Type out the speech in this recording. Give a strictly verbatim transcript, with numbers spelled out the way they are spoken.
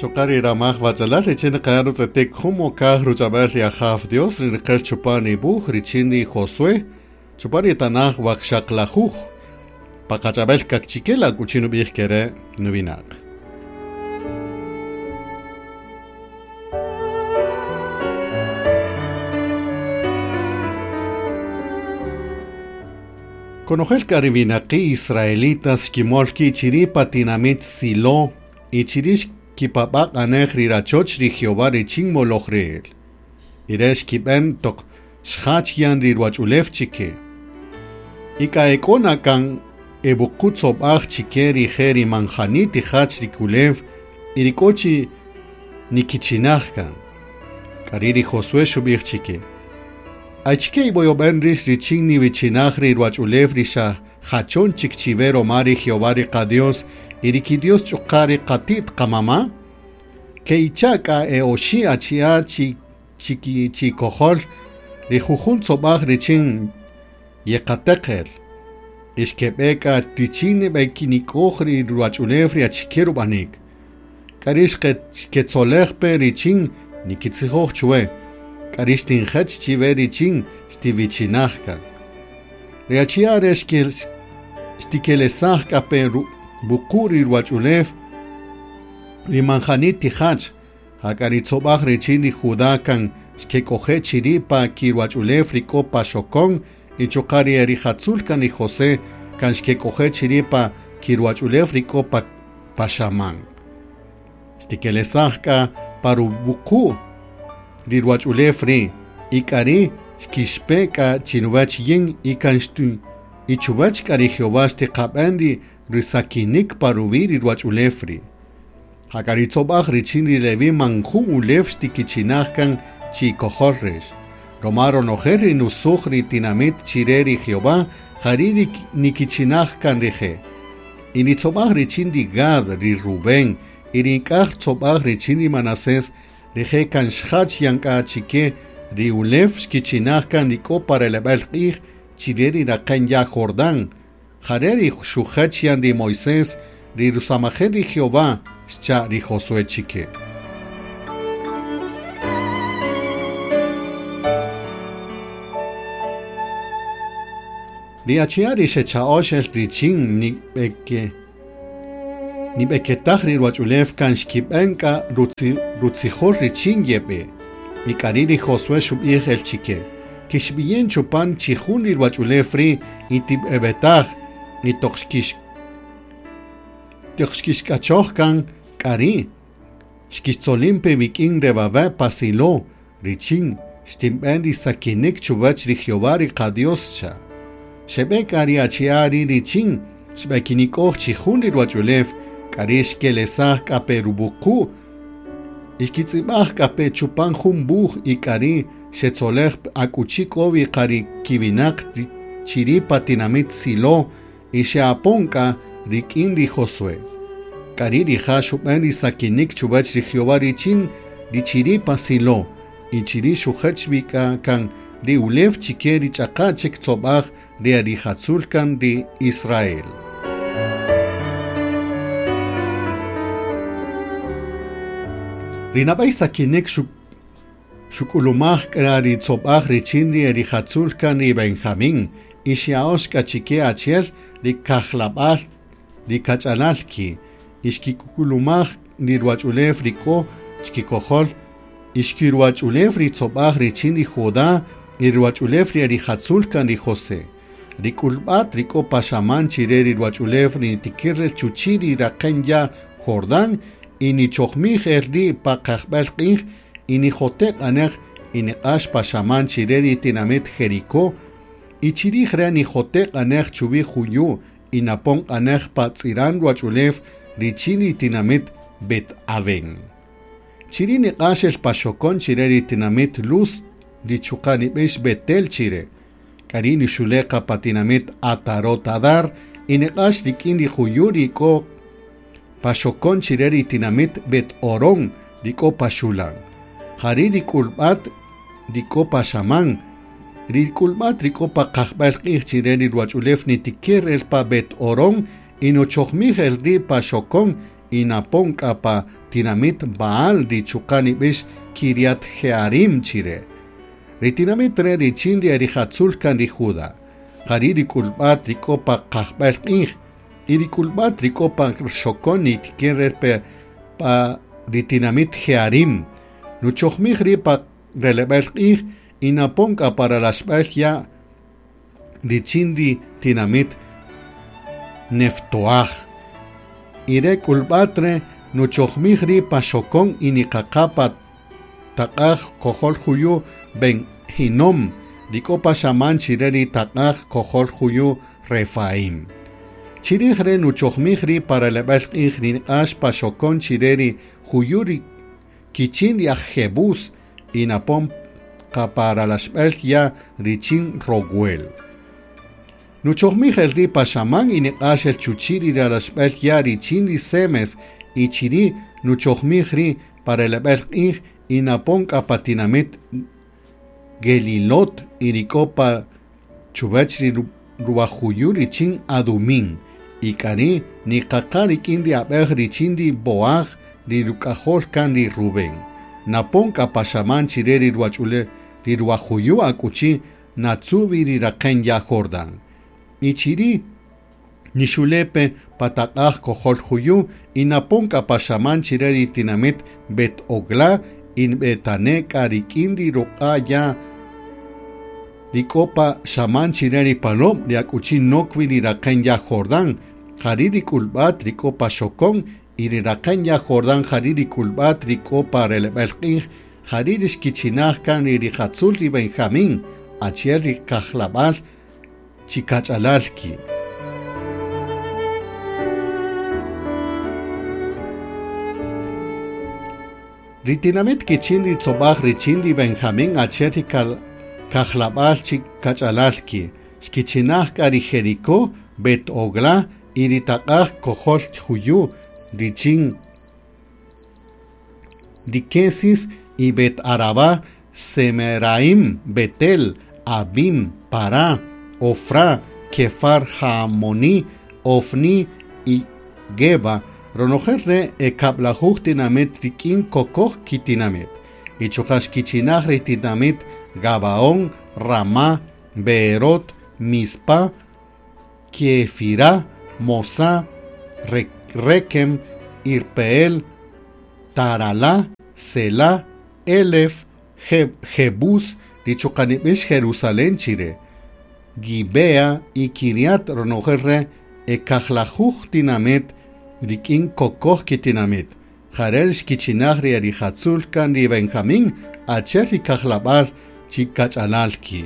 Xokari ramaj wachalal richin qarutzetik jumokaj ruchabel ri Ajaw Dios rinqel chupani buj richin ri Josué chupani tanaj waqxaqlajuj paqachabel kakchikela kuchinu bij kere nuvinaq. Konojel karivinaqi israelitas xkimolki chiri pa tinamit Silo y chirish kipabaq anej rirachoch ri Jehová richin molojreel. Iresh kiben tok xjach yan riruachulef chike. Ika ekona kan ebukutsobaj chike rije rimanjani tijach rikulev irikochi nikichinajkan. Kariri Josué xubij chike. Achike iboyoben rish richin nivichinaj riruachulef risha jachon chikchivero mari Jehová riqa Dios iriki Dios chukari qatit qamama ke ichaka e oshi achia chi chiki chikohol rijujun tzobaj richin yeqateqel ixkeb'eka richin bekinikoj ri ruachulef ri achike rub'anik k'arix ketzole'jpe richin nikitzijoj chwe k'arix tinjech chive richin xtivichinajka ri achia re xtikelesaj k'ape Bukuri ruachulef rimanjani tijach hakaritzobaj richin ri Judá kan xkekoje chiripa kiruachulef rikopa xokon y chokari erijatzul kan ri José kan xkekoje chiripa kiruachulef rikopa paxaman xtikelesajka parubuku riruachulef ri ikari xkixpeka chinuwach yin ikan xtu ichuwach kari Jehová xtiqab'en ri risakinik paruvi riruachulefri. Hakaritzobaj richin ri Levi manjun ulef xtikichinajkan chikojolrex. Romaro nojer ri nusuj ri tinamit chire ri Jehová jari nikichinajkan rije. Initzobaj richin ri Gad ri Rubén irink'aj tzobaj richin ri Manasés rije kan xjach yanka chike ri ulef xkichinajkan rik'o pareleb'el q'ij chire ri raqen ya Jordán. Jareri xujechian ri Moisés ri rusamajer ri Jehová xcha ri Josué chike. Ri achia ri xecha'oxel richin nib'eke nib'eketaj ri ruachulef kan xkib'enka rutzijol richin yeb'e. Ik'ari ri Josué xub'ij el chike. Kixb'iyen chupan chijun ri ruachulef ri itib'ebetaj ni toxkish toxkixk'achoj kan k'ari xkixtzolimpe wikin rebabe pasilo richin xtinb'en ri sakinik chuwach ri Jehová ri qadios cha xeb'e k'ari achiari richin xb'ekinik'oj chijun ri ruachulef k'ari xkelesaj k'ape rubuku ixkitz'ib'aj k'ape chupan jun buj y k'ari xetzolej akuchi k'owi qari kiwinaq chiripa tinamit Silo y xeaponka rik'in ri Josué. K'ari rija' xub'en ri sakinik chuwach ri Jehová richin ri chiripa Silo y chiri xujech wik'a kan ri ulef chike ri ch'aqa chik tzob'aj ri arijatzul kan ri Israel. Ri nab'ay sakinik xuk'ulumaj k'a ri tzob'aj richin ri erijatzul kan ri Benjamín y xya'ox k'a chike achiel ri kajlab'al ri kach'alalki y xkik'ulumaj ri ruachulef rik'o xkikojol y xkiruachulef ri tzob'aj richin ri Judá y ruachulef ri erijatzul kan ri José. Ri k'ulb'at rik'o paxaman chire ri ruachulef ri tikirrel chuchi ri raqen ya Jordán y nichojmij el ri paqajb'el q'ij y nijoteq anej y niq'ax paxaman chire ri tinamit Jericó y chirij re nijoteq anej chuwi juyu y napon anej patz'iran ruachulef richin ri tinamit Bet Aven. Chiri niq'ax el paxokon chire ri tinamit Luz richuqa nib'ix Betel chire. K'ari nixuleqa pa tinamit Atarot Adar y niq'ax rik'in ri juyu rik'o paxokon chire ri tinamit Bet Orón rik'o paxulan. Jari rik'ulb'at rik'o paxaman rik'ulb'at rik'o paqajb'al q'ij chire ri ruachulef nitikir el pa Bet Orón y nochojmij el ri paxokon y napon k'a pa tinamit Baal ri chuqa' nib'ix Kiriat Jearim chire. Ri tinamit re richin ri erijatzul kan ri Juda. Jari ri k'ulb'at ri k'o pa qajb'al q'ij y ri k'ulb'at ri k'o pa xokon nitiker pe pa ri tinamit Jearim. Nuchojmij ri pa releb'el q'ij y napon k'a para laxb'al ya richin ri tinamit Neftoaj. Ire k'ulb'at re nuchojmij ri pa xokon y niqaqa pa taq'aj kojol juyu Ben Hinom, ri k'o pa xaman chire ri taq'aj kojol juyu Refaim. Chirij re nuchojmij ri para releb'el q'ij ri niq'ax pa xokon chire ri juyu ri kichin ri aj Jebús y napon qa para laxb'el ya richin Roguel. Nuchojmij el ri pa xaman y niq'ax el chuchi ri ralaxb'el ya richin ri Semes y chiri nuchojmij ri para releb'el q'ij y napon k'a pa tinamit Gelilot y ri k'o pa chuwach ri ruwajuyu richin Adumin y k'ari niqaqa rik'in ri ab'ej richin ri Boaj ri ruk'ajol kan ri Rubén. Napon k'a pa xaman chire ri ruwach'ule ri ruwajuyu akuchi natzubi ri raqen ya Jordán. Y chiri nixulepe pataq'aj kojol juyu y napon k'a pa xaman chire ri tinamit Bet Ogla y nb'etane k'a rik'in ri ruq'a ya ri k'o pa xaman chire ri palom ri akuchi nokwi ri raqen ya Jordán. Jari ri k'ulb'at ri k'o pa xokon y ri raqen ya Jordán jari ri k'ulb'at ri k'o pa releb'el q'ij jari ri xkichinaj kan ri rijatzul ri Benjamín achiel ri kajlab'al chikach'alalki. Ri tinamit kichin ri tzob'aj richin ri Benjamín achiel ri kajlab'al chikach'alalki xkichinaj k'a ri Jericó, Bet Ogla y ri taq'aj kojol juyu richin ri Kesis y Bet Arabá, Semeraim, Betel, Abim, Pará, Ofra, Kefar Hamoni, Ofni y Geba. Ronojel re ekab'lajuj tinamit rik'in kokoj kitinamit. Y chuqa' xkichinaj ri tinamit Gabaón, Ramá, Beerot, Mispa, Kefirá, Mosá, Rekem, Irpeel, Taralá, Selá, Elef, Jebús, ri chuqa' nib'ix Jerusalén chire, Gibea y Kiriat. Ronojel re ekajlajuj tinamit rik'in kokoj kitinamit. Jarel xkichinaj ri erijatzul kan ri Benjamín achiel ri kajlab'al chikach'alalki.